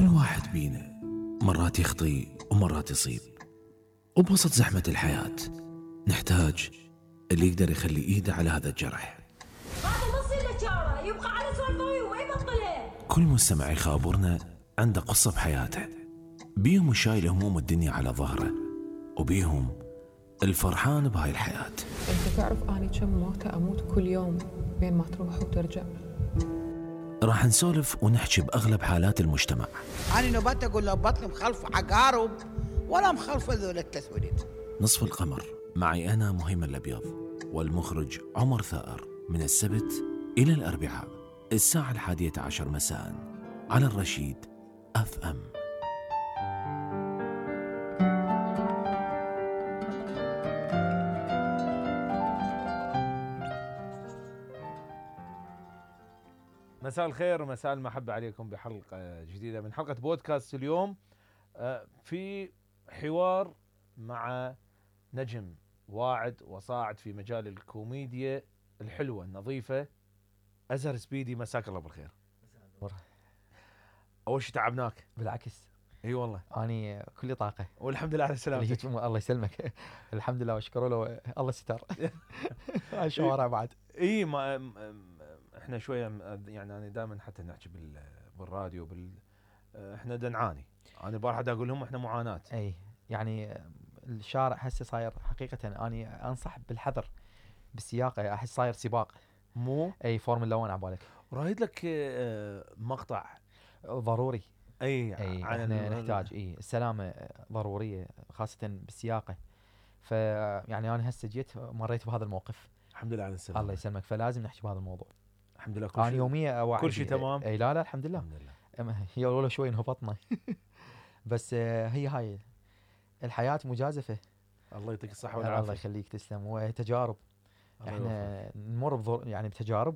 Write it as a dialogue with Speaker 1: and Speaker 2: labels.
Speaker 1: كل واحد بينا مرات يخطي ومرات يصيب، وبوسط زحمة الحياة نحتاج اللي يقدر يخلي ايده على هذا الجرح.
Speaker 2: هذا نص الاشاره يبقى على سوالفه وما يبطلها.
Speaker 1: كل مستمع يخابرنا عنده قصة بحياته، بيهم شايل هموم الدنيا على ظهره، وبيهم الفرحان بهاي الحياة.
Speaker 3: انت تعرف اني كم موتة اموت كل يوم بين ما تروح وترجع.
Speaker 1: راح نسولف ونحكي بأغلب حالات المجتمع.
Speaker 4: أنا نبات أقول له بطني مخلف عقارب ولا مخلف ذول التسويد.
Speaker 1: نصف القمر معي أنا مهيمن الأبيض والمخرج عمر ثائر، من السبت إلى الأربعاء الساعة 11 مساء على الرشيد FM.
Speaker 5: مساء الخير ومساء المحبة عليكم بحلقة جديدة من حلقة بودكاست اليوم. في حوار مع نجم واعد وصاعد في مجال الكوميديا الحلوة النظيفة، أزهر سبيدي. مساك الله بالخير. أول شيء تعبناك.
Speaker 6: بالعكس،
Speaker 5: اي والله
Speaker 6: اني كلي طاقه
Speaker 5: والحمد لله على سلامتك.
Speaker 6: الله يسلمك. الحمد لله واشكره له، الله ستر. هاي الشوارع بعد.
Speaker 5: اي ما احنا شويه يعني انا دائما حتى نحكي بالراديو احنا نعاني. انا البارحه اقول لهم احنا معاناه.
Speaker 6: اي يعني الشارع هسه صاير حقيقه، اني انصح بالحذر بالسياقه، احس صاير سباق.
Speaker 5: مو
Speaker 6: اي فورمولا 1 على بالك.
Speaker 5: رايد لك مقطع
Speaker 6: ضروري.
Speaker 5: اي
Speaker 6: احنا نحتاج السلامه ضروريه خاصه بالسياقه. فيعني انا هسه جيت مريت بهذا الموقف.
Speaker 5: الحمد لله على السلامه.
Speaker 6: الله يسلمك. فلازم نحكي بهذا الموضوع.
Speaker 5: الحمد لله.
Speaker 6: انا يوميا اوعي
Speaker 5: كل شيء تمام.
Speaker 6: اي لا الحمد لله. هي والله شوي انهبطنا. بس هي هاي الحياه مجازفه.
Speaker 5: الله يعطيك الصحه والعافيه.
Speaker 6: الله يخليك، تسلم. وتجارب احنا نمر يعني بتجارب